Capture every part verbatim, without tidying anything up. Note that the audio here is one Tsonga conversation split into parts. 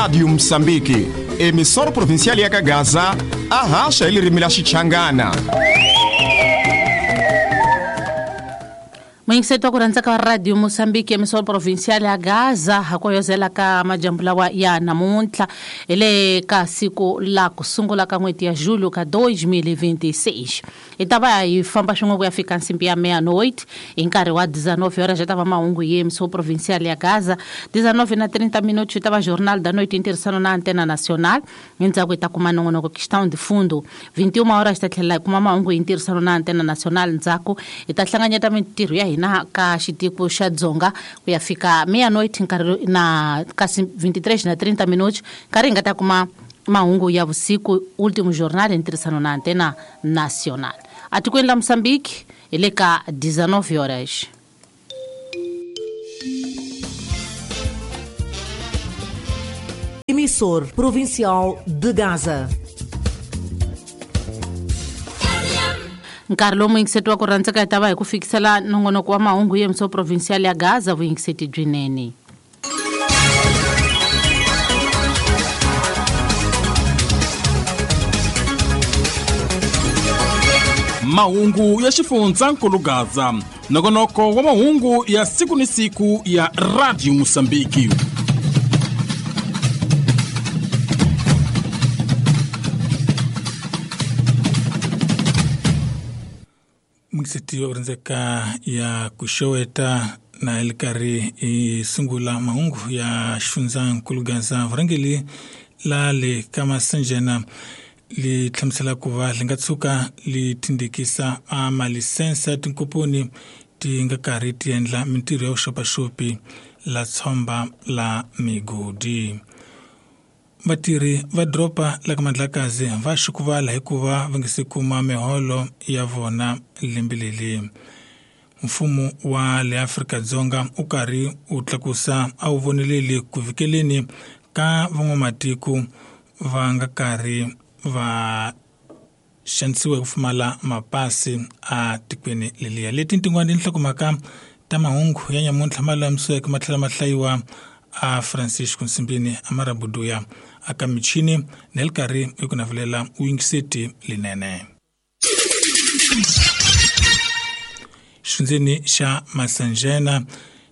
Rádio Moçambique, emissora provincial ya Gaza, arracha ele rimila Xichangana. Mwingiseto kuranza ka Radio Moçambique emissora provincial ya Gaza hakoyozela ka majambu lawa ya namuntlha ele ka siku la kusungula ka n'hweti ya julho ka dois mil e vinte e seis. Itava yi famba swin'we ku ya fika nsimbi ya meia-noite hi nkarhi wa dezenove horas já tava mahungu ye emissora provincial ya Gaza dezenove na trinta minutos tava jornal da noite interessando na antena nacional endzhaku hi ta kuma nongonoko questão de fundo vinte e uma horas ta tlhela hi kuma mahungu interessando na antena nacional ndzhaku hi ta hlanganyeta mintirho ya hina ka xitiko xa Dzonga ku ya fika meia-noite nkarhi na kasi vinte e três na trinta minutos nkarhi hi nga ta kuma mahungu ya vusiku último jornal interessando na antena nacional atikweni la Moçambique ele ka dezenove horas. Emissor Provincial de Gaza. Nkarhi lowu muyingiseti wa ku rhandzeka hi ta va hi ku fikisela nongonoko wa mahungu ya emissora provincial ya Gaza vuyingiseti byinene. Mahungu ya xifundzankulu Gaza, nongonoko wa mahungu ya siku ni siku ya Radio Moçambique. Mixeti wa rhandzeka ya kuxoweta na hi karhi hi sungula mahungu ya xifundzankulu Gaza vurhangeri la le ka Masanjena li hlamusela ku va li nga tshuka li tindikisa a malisense ya tinkomponi ti nga karhi ti endla mintirho ya vuxopaxopi la tshomba la migodi. Vatirhi va doroba la ka Mandlakazi va xukuvala hikuva va nga se kuma miholo ya vona lembe leri. Mfumo wa le Afrika-Dzonga u karhi u tlakusa a wu voneleli ku fikeleni ka van'wamatiko va nga karhi va xanisiwa hi ku pfumala mapasi a tikweni leliya. Leti tin'wana tinhlokomhaka ta mahungu ya nyamuntlha ma lulamisiweke ma tlhela ma hlayiwa a Francisco Nsimbini a Marabuduya aka michini na le karhi hi ku navelela vuyingiseti linene. Xifundzeni xa Masanjena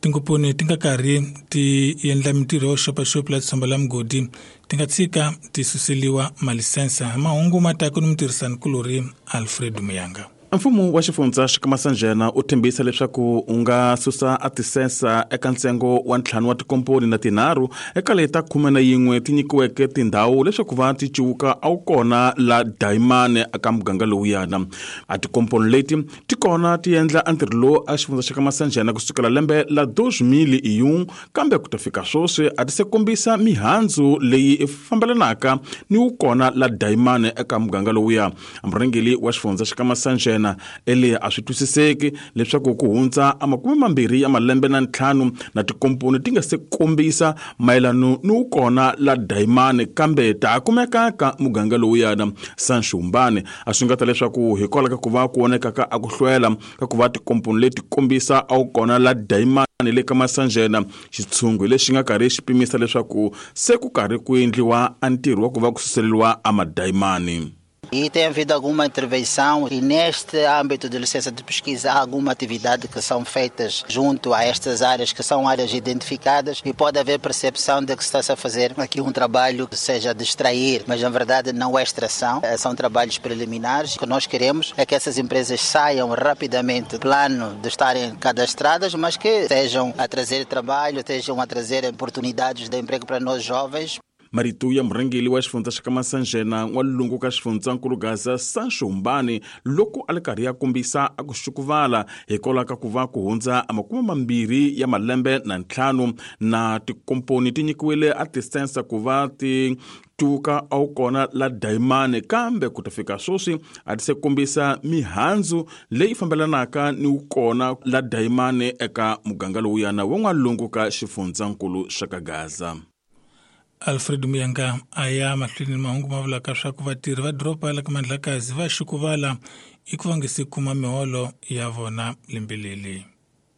tinkomponi ti nga karhi ti endla mintirho yo xopaxopi la tshomba la mugodi ti nga tshika ti suseliwa malisensa. Mahungu ma ta ku ni mutirhisani-kulorhi Alfred Muyanga. Mfumo wa xifundza xa ka Masanjena u tshembisa leswaku u nga susa a tisensa eka ntsengo wa ntlhanu wa tikomponi na tinharhu eka leti ta khume na yin'we ti nyikiweke tindhawu leswaku va ti ciwuka a wu kona la dayimani eka muganga lowuyana. A tikomponi leti ti kona ti endla a ntirho lowu a xifundza xa ka Masanjena kusukela lembe la dois mil e um kambe ku ta fika sweswi a ti se kombisa mihandzu leyi fambelanaka ni wu kona la dayimani eka muganga lowuya. Murhangeri wa xifundza xa ka Masanjena ele a swi twisiseki leswaku ku hundza a makume mambirhi ya malembe na ntlhanu na tikomponi ti nga se kombisa mayelano ni wu kona la dayimani kambe ta kumeka ka muganga lowuyana. Sanshumbane a swi nga ta leswaku hikwalaho ka ku va ku voneka ka a ku hlwela ka ku va tikomponi leti kombisa a wu kona la dayimani le ka Masanjena xitshungu lexi nga karhi xi pimisa leswaku se ku karhi ku endliwa a ntirho wa ku va ku suseleriwa a madayimani. E tem havido alguma intervenção e neste âmbito de licença de pesquisa há alguma atividade que são feitas junto a estas áreas que são áreas identificadas e pode haver percepção de que está-se a fazer aqui um trabalho que seja de extrair, mas na verdade não é extração, são trabalhos preliminares. O que nós queremos é que essas empresas saiam rapidamente do plano de estarem cadastradas, mas que estejam a trazer trabalho, estejam a trazer oportunidades de emprego para nós jovens. Marituya murhangeri wa xifundza xa ka Masanjena n'walungu ka xifundzankulu Gaza Sanshumbane loko a li karhi ya kombisa a ku xukuvala hikwalaho ka ku va ku hundza a makume mambirhi ya malembe na ntlhanu na tikomponi ti nyikiwile a tisensa ku va ti tuka a wu kona la dayimani kambe ku ta fika sweswi a ti se kombisa mihandzu leyi fambelanaka ni wu kona la dayimani eka muganga lowuyana wa n'walungu ka xifundzankulu xa ka Gaza. Alfred Muyanga a ya mahlweni mahungu ma vulaka swa ku vatirhi va doroba la ka Mandlakazi va xukuvala i ku va nga se kuma miholo ya vona lembe leri.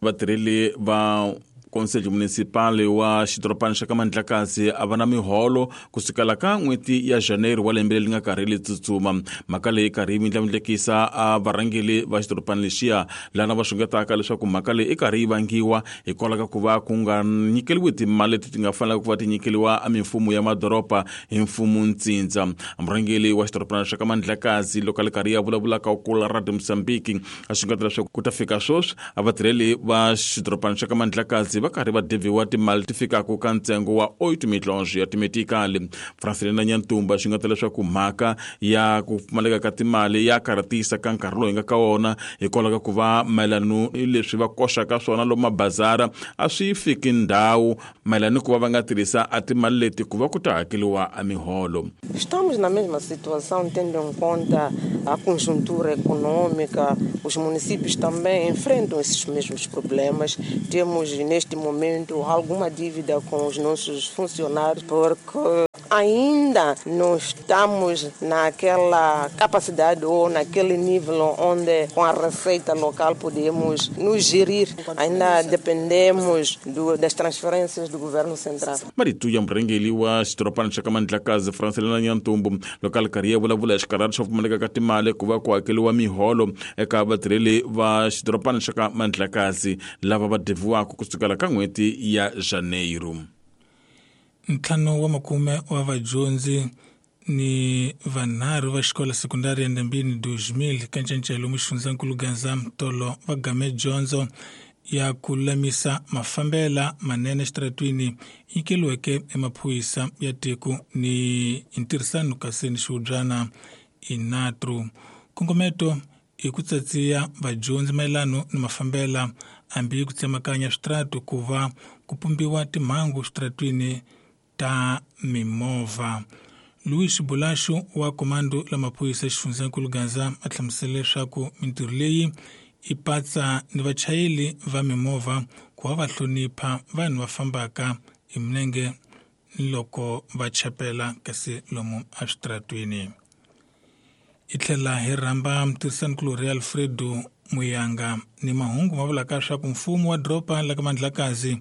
Vatirheli va Conselho Municipal wa xidorobana xa ka Mandlakazi a va na miholo kusukela ka n'hweti ya Janeiro wa lembe leri nga karhi ri tsutsuma. Mhaka leyi karhi yi mindlandlekisa a varhangeri va xidorobana lexiya lana va xungetaka leswaku mhaka leyi i karhi yi vangiwa hikwalaho ka ku va ku nga nyikeriwi timali leti ti nga fanelaka ku va ti nyikeriwa a mimfumo ya madoroba hi mfumo ntsindza. Murhangeri wa xidorobana xa ka Mandlakazi loko a ri karhi ya vulavulaka ku la Radio Mozambique a xungeta leswaku ku ta fika sweswi a vatirheli va xidorobana xa ka Mandlakazi va karhi va deviwa timali ti fikaka ka ntsengo wa oito milhões ya timetikali. Francelina Nyantumba xungeta leswaku mhaka ya ku pfumaleka ka timali ya karhatisa ka nkarhi lowu hi nga ka wona hikwalaho ka ku va mayelana ni leswi va koxaka swona lomu mabazara a swi fiki ndhawu mayelana ni ku va va nga tirhisa a timali leti ku va ku ta hakeriwa a miholo. Estamos na mesma situação, tendo em conta a conjuntura econômica, os municípios também enfrentam esses mesmos problemas. Temos neste momento alguma dívida com os nossos funcionários, porque ainda não estamos naquela capacidade ou naquele nível onde com a receita local podemos nos gerir. Ainda dependemos do, das transferências do governo central. Marito ya murhangeri wa xidorobana xa ka Mandlakazi Francelina Nyantumbu loko a ri karhi ya vulavula hi xikarhati xo pfumaleka ka timali ku va ku hakeriwa miholo eka vatirheli va xidorobana xa ka Mandlakazi lava va deviwaka kusukela ka n'hweti ya Janeiro. Ntlhanu wa makume wa vadyondzi ni vanharhu va xikolo sekundari ya Ndembini dois mil ka Ncencelo muxifundzankulu Gaza Mtolo va game dyondzo ya ku lulamisa mafambela manene exitaratwini nyikeliweke emaphorisa ya tiko ni ntirhisano kasi ni xihubyana inatru. Nkongometo i ku tsatsiya vadyondzi mayelano ni mafambela hambi ku tsemakanya switaratu ku va ku pumbiwa timhangu switaratwini ta mimovha. Luis Bulaxu wa komando la maphorisa xifundzankulu Gaza a hlamusela leswaku mintirho leyi i patsa ni vachayeri va mimovha ku va va hlonipha vanhu va fambaka hi milenge loko va chapela kasi lomu eswitaratwini. I tlhela hi rhamba mutirhisanikulorhi Alfredo Muyanga ni mahungu ma vulaka leswaku mfumo wa doroba la ka Mandlakazi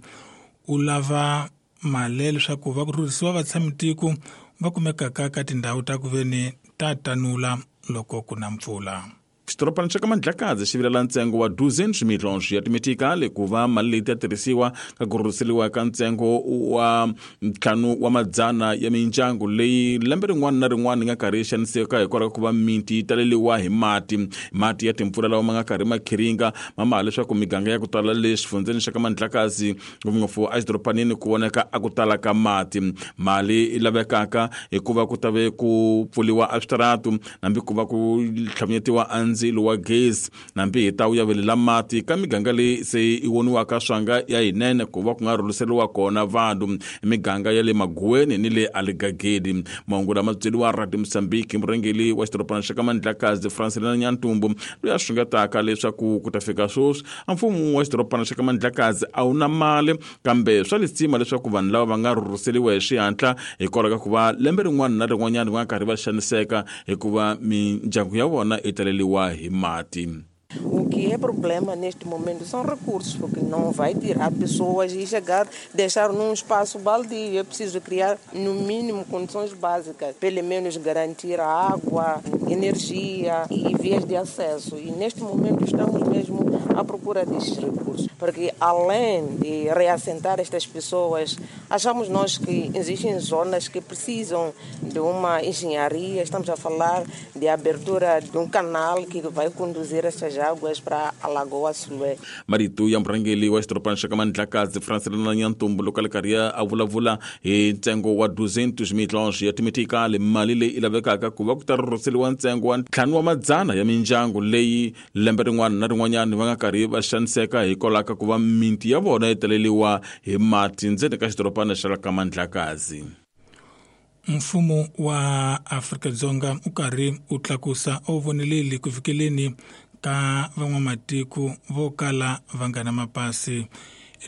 u lava mali leswaku va ku rhurhisiwa vatshamitiko va kumekaka ka tindhawu ta ku veni ta tanula loko ku na mpfula. Xidorobana xa ka Mandlakazi xi vilela ntsengo wa duzentos milhões ya timetikali ku va mali leyi ta tirhisiwa ka ku rhurhiseriwa ka ntsengo wa ntlhanu wa madzana ya mindyangu leyi lembe rin'wana na rin'wana yi nga karhi yi xaniseka hikwalaho ka ku va miti yi taleriwa hi mati mati ya timpfula lawa ma nga karhi ma khiringa ma maha leswaku miganga ya ku tala le xifundzeni xa ka Mandlakazi ngopfungopfu exidorobanini ku voneka a ku tala ka mati. Mali yi lavekaka hikuva ku ta ve ku pfuriwa eswitaratu hambi ku va ku tlhavanyetiwa ndzilo wa gezi nambi hi ta wu yavelela mati ka miganga leyi se yi voniwaka swanga ya yinene ku va ku nga rhurhiseriwa kona vanhu miganga ya le Maguweni ni le Aligagedi. Mahungu lama byeriwa Radio Mozambique murhangeri wa xidorobana xa ka Mandlakazi Francelina Nyantumbu loyi a xungetaka leswaku ku ta fika sweswi a mfumo wa xidorobana xa ka Mandlakazi a wu na mali kambe swa lisima leswaku vanhu lava va nga rhurhiseriwa hi xihatla hikwalaho ka ku va lembe rin'wana na rin'wanyana va nga karhi va xaniseka hikuva mindyangu ya vona yi taleriwa hi mati. O que é problema neste momento são recursos, porque não vai tirar pessoas e chegar, deixar num espaço baldio. É preciso criar, no mínimo, condições básicas, pelo menos garantir a água, energia e vias de acesso. E neste momento estamos mesmo à procura destes recursos, porque além de reassentar estas pessoas, achamos nós que existem zonas que precisam de uma engenharia. Estamos a falar de abertura de um canal que vai conduzir estas águas para a Lagoa Sulé. Marito ya murhangeri wa xidorobana xa ka Mandlakazi Francelina Nyantumbu loko a ri karhi a vulavula hi ntsengo wa duzentos milhões ya timetikali mali leyi yi lavekaka ku va ku ta rhurhiseriwa ntsengo wa ntlhanu wa madzana ya mindyangu leyi lembe rin'wana na rin'wanyana va nga karhi va xaniseka hikwalaho ka ku va miti ya vona yi taleriwa hi mati ndzeni ka xidorobana xa ka Mandlakazi. Mfumo wa Afrika-Dzonga u karhi u tlakusa a wu voneleli ku fikeleni ka van'wamatiko vo kala va nga na mapasi.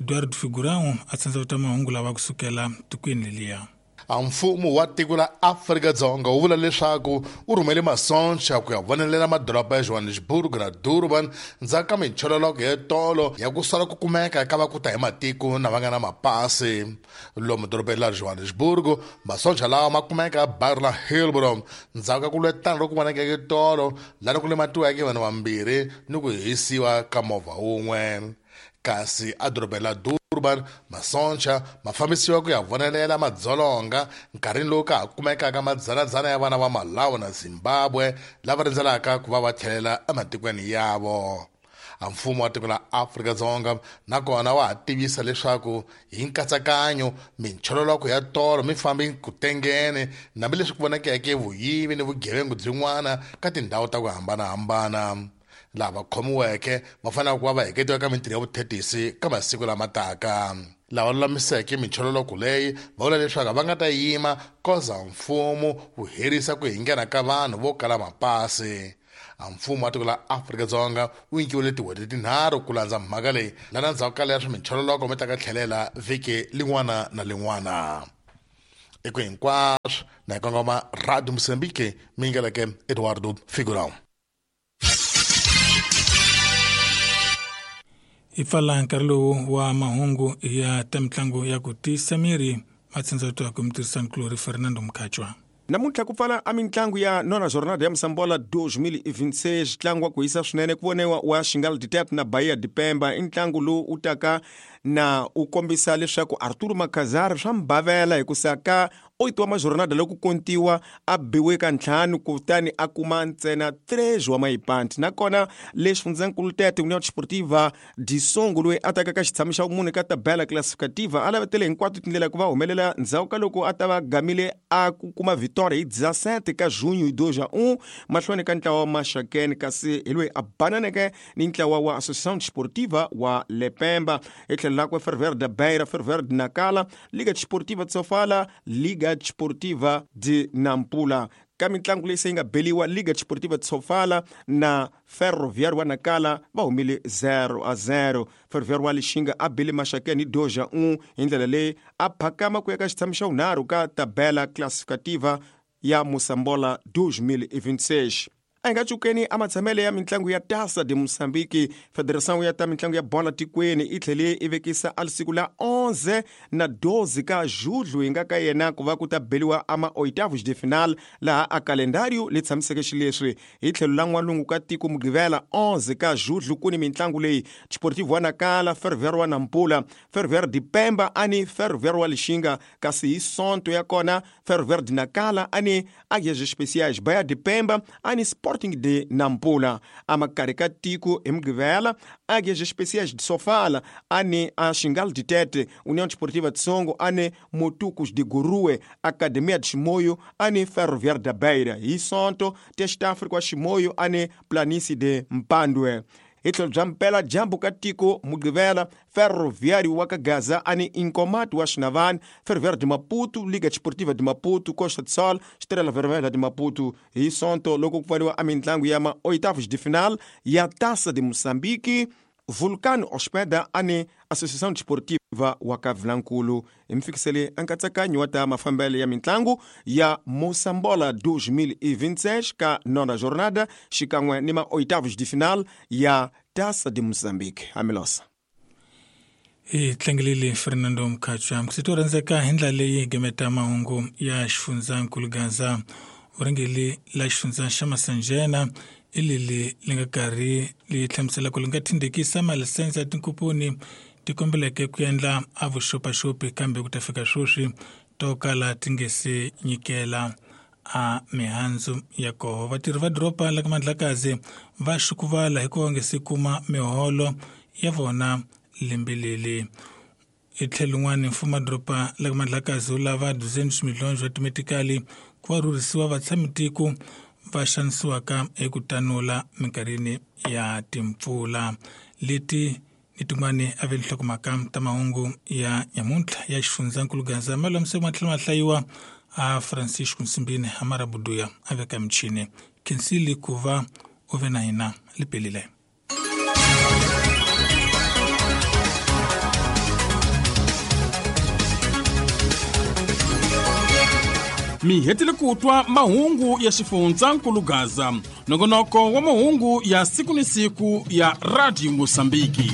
Eduardo Figurão a tsandza ta mahungu lawa kusukela tikweni leliya. A mfumo wa tiko la Afrika-Dzonga wu vula leswaku wu rhumele masoncha ku ya vonelela madoroba ya Johannesburg na Durban ndzhaku ka minchololoko ya tolo ya ku sala ku kumeka ka va ku ta hi matiko na va nga na mapasi. Lomu dorobeni la Johannesburg, masoncha lawa ma kumeka baru la Hillbrow ndzhaku ka ku lwetana loku vonakeke tolo laha ku lematiweke vanhu vambirhi ni ku hisiwa ka movha wun'we. Kasi a dorobeni la Durban, masoncha ma fambisiwa ku ya vonelela madzolonga nkarhini lowu ka ha kumekaka madzanadzana ya vana va Malawi na Zimbabwe lava rindzelaka ku va va tlhelela ematikweni yavo. A mfumo wa tiko la Afrika-Dzonga nakona wa ha tivisa leswaku hi nkatsakanyo minchololoko ya tolo mi fambi ku tengene hambileswi ku vonakeke vuyivi ni vugevengu byin'wana ka tindhawu ta ku hambanahambana. Lava khomiweke va fanele ku va va heketiwa ka mintirho ya vuthetisi ka masiku lama taka. Lava lulamiseke minchololoko leyi va vula leswaku va nga ta yima koza mfumo wu herisa ku hingena ka vanhu vo kala mapasi. A mfumo wa tiko la Afrika-Dzonga wu nyikiwile tin'hweti tinharhu ku landza mhaka leyi lana ndzhaku ka leswi minchololoko mi ta ka tlhelela vhiki lin'wana na lin'wana. Eku hinkwaswo na hi kongoma Radio Mozambique mi ngeleke Eduardo Figurão. Hi pfala nkarhi lowu wa mahungu ya ta mitlangu ya ku tiyisa miri matshenzatwa ku mutirhisanikulori Fernando Mkhatshwa. Namuntlha ku pfala a mitlangu ya nona jornada ya Mosambola dois mil e vinte e seis ntlangu wa ku hisa swinene ku voniwa wa Xingal Ditep na Bahia de Pemba. I ntlangu lowu wu taka na u kombisa leswaku Arturo Makazar swa mbavela hikusa ka oito wa majornada loko kontiwa a biwe ka ntlhanu kutani a kuma ntsena três wa maipanti. Nakona le xifundzankulu Tete União Desportiva de Songo loyi a taka ka xitshamo xa vumune ka tabela classificativa a lavetele hinkwato tindlela ku va humelela ndzhaku ka loko a ta va gamile a ku kuma vitória hi dezessete ka junho dois a um mahlweni ka ntlawa wa Maxakeni, kasi hi loyi a bananeke ni ntlawa wa Associação Desportiva wa Lepemba. Hi tlhelo lakwe Ferroviário da Beira, Ferroviário de Nacala, Liga Desportiva de Sofala, Liga Desportiva de Nampula. Ka mitlangu leyi se yi nga beliwa, Liga Desportiva de Sofala na Ferroviário wa Nacala va humile zero a zero. Ferroviário wa Lixinga a bile Maxakeni dois a um hi ndlela leyi a phakama ku ya ka xitshamo xa vunharhu ka tabela classificativa ya Mosambola dois mil e vinte e seis. A hi nga cukeni a matshamele ya mitlangu ya Taça de Moçambique. Federação ya ta mitlangu ya bola tikweni i tlhele i vekisa a siku la onze na doze ka julho hi nga ka yena ku va ku ta beliwa ama oitavos de final laha a calendário li tshamiseke xileswi. Hi tlhelo la n'walungu ka tiko Mugqivela onze ka julho ku ni mitlangu leyi: Desportivo wa Nacala, Ferroviário wa Nampula, Ferroviário de Pemba ani Ferroviário wa Lixinga, kasi hi Sonto ya kona Ferroviário de Nacala ani Águias Especiais, Bahia de Pemba ani Sporting de Nampula. Amakari ka tiko hi Mugqivela, Águias Especiais de Sofala ani a Xingal de Tete, União Desportiva de Songo ani Motucos de Gurue, Academia de Chimoio ani Ferroviário da Beira. Hi Sonto, Teste África wa Chimoio ani Planície de Mpandwe. Hi tlhelo bya mpela dyambu ka tiko Mugqivela, Ferroviário wa ka Gaza ani Incomato wa Xinavani, Ferroviário de Maputo, Liga Desportiva de Maputo, Costa do Sol, Estrela Vermelha de Maputo. Hi Sonto loko ku pfariwa a mitlangu ya ma oitavos de final ya Taça de Moçambique, Vulcano hospeda ani Associação Desportiva wa ka Vilankulu. Hi mi fikisele nkatsakanyo wa ta mafambelo ya mitlangu ya Mosambola dois mil e vinte e seis ka nona jornada xikan'we ni ma oitavos de final ya Taça de Moçambique. Amilosa hi tlangelile Fernando Mkhatshwa. Mkusito rhandzeka hi ndlela leyi gemeta mahungu ya xifundzankulu Gaza. Vurhangeri la xifundza xa Masanjena i leli li nga karhi li hlamusela ku li nga thindekisa malisense ya tinkumpuni ti kombeleke ku endla a vuxopaxopi, kambe ku ta fika sweswi to kala ti nge se nyikela a mihandzu ya koho. Vatirhi va doroba la ka Mandlakazi va xukuvala hikuva va nge se kuma miholo ya vona lembe leli. Hi tlhelo rin'wana, mfumo wa doroba la ka Mandlakazi wu lava duzentos milhões wa timetikali ku va rhurhisiwa vatshamitiko va xanisiwaka eku tanula minkarhini ya timpfula. Leti ni tin'wani a ve nhlokomhaka ta mahungu ya nyamuntlha ya xifundzankulu Gaza. Malamiseko ma tlhela ma hlayiwa a Francisco Nsimbini a Marabuduya a veka michini. Khensile ku va u ve na hina lipelile. Mi hetile ku twa mahungu ya xifundzankulu Gaza, nongonoko wa mahungu ya siku ni siku ya Radio Mosambiki.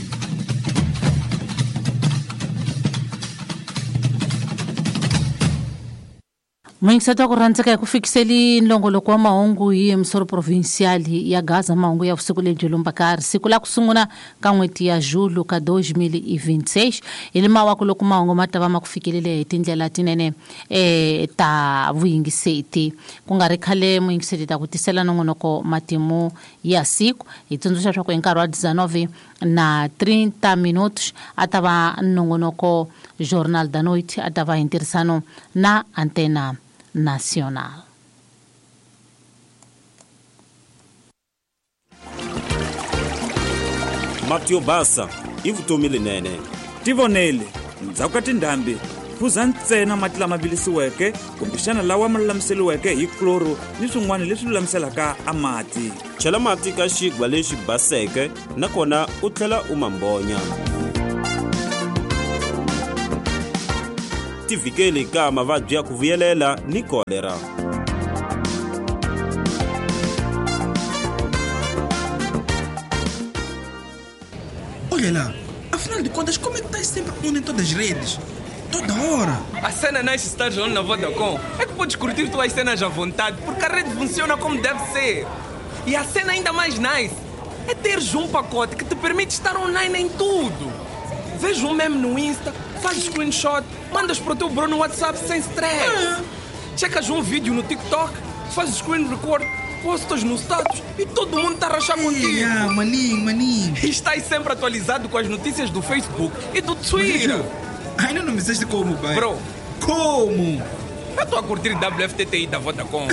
Muyingiseti wa ku rhandzeka hi ku fikiseli nlongoloko wa mahungu hi emisoro provincial ya Gaza, mahungu ya vusiku lebyi lumbakari siku la ku sungula ka n'hweti ya Julho ka dois mil e vinte e seis hi le mawaku loko mahungu ma ta va ma ku fikelele hi tindlela tinene eh ta vuyingiseti. Ku nga ri khale muyingiseti ta ku tisela nongonoko matimu ya siku. Hi tsundzuxa leswaku hi nkarhi wa dezenove na trinta minutos a ta va nongonoko Jornal da Noite, a ta va hi ntirhisano na Antena Nacional. Mati yo basa i vutomi lenene. Tivonele, ndzhaku ka tindhambi, phuza ntsena mati lama vilisiweke kumbexana lawa ma lulamiseriweke hi kloro ni swin'wana leswi lulamiselaka a mati. Chela mati ka xigwa lexi baseke nakona u tlhela u ma mbonya. Tivikeli ka mavabyi ya ku vuyelela ni kolera. Olha lá, afinal de contas, como é que estás sempre on em todas as redes? Toda hora. A cena nice estar on na Vodacom é que podes curtir tuas cenas à vontade, porque a rede funciona como deve ser. E a cena ainda mais nice é teres um pacote que te permite estar online em tudo. Vês um meme no Insta, fazes screenshot, mandas para o teu bro no WhatsApp sem stress. Ah. Checas um vídeo no TikTok, fazes screen record, postas no status e todo mundo está a rachar contigo. Ah, maninho, maninho. E estás sempre atualizado com as notícias do Facebook e do Twitter. Maninho, ainda não me disseste como, pai. Bro. Como? Eu estou a curtir W F T T I da Vodacom.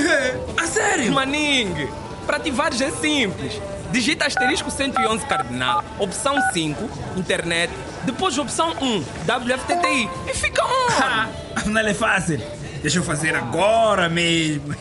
A sério? Maninho, para ativares é simples. Digita asterisco cento e onze cardinal, opção cinco, internet, depois opção um, W F T T I e fica on! Afinal é fácil. Deixa eu fazer agora mesmo.